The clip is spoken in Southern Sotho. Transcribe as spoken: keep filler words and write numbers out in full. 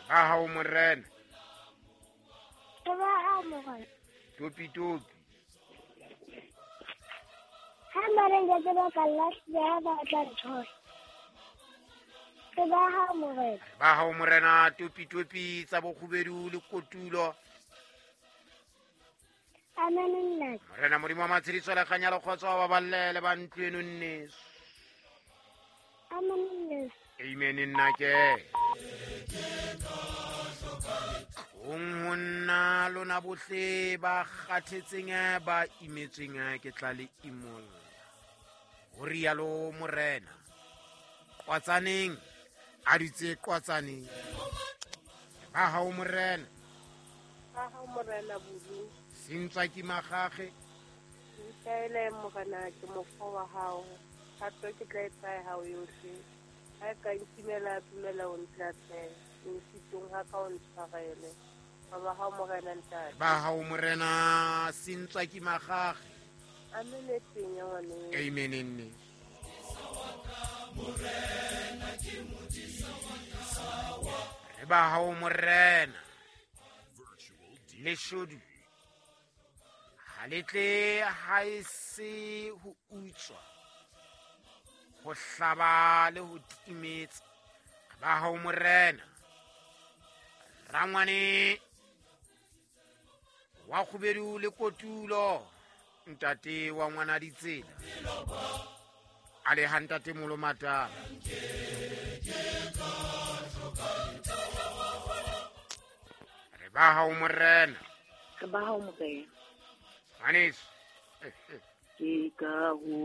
Ba hao morena. Re ba hao morena. Topi topi. Ha mare ke ba ka lahla ba tla nthola. Re ba hao morena. Ba hao morena topi topi tsa bokgubedu le kotulo. Amen nna. Morena Modimo wa matshediso le kganya le kgotso ba balle le ba ntlo eno nneso. Amen nna. Amen nna ke. Ong ho nna lona bohle ba kgathetseng ba imetsweng ke tla le imolla. Ho rialo morena. Qwatsaneng a ditse qwatsaneng. Ba hao morena. Ba hao morena bulu. Sentswa ke magage. Nkaele morena ke mofo wa hao. Thato ke tla etsa hao yohle. Ha ka ntimela tumela o ntlatle. Nsitong ha ka o ntshwarele. Ba hao morena ntate. Ba hao morena sentswa ke magage. Amen e teng ya ngwane. Amen nne. Re ba hao morena. Leshodu ha le tle ha e se ho utswa, ho hlaba le ho timetsa. Ba hao morena. Rangwane wa kgubedu le kotulo, ntate wa ngwana ditsela. A le ha ntate Molomatala. Re ba hao morena. Re ba hao morena. Ngwaneso. Ke ka ho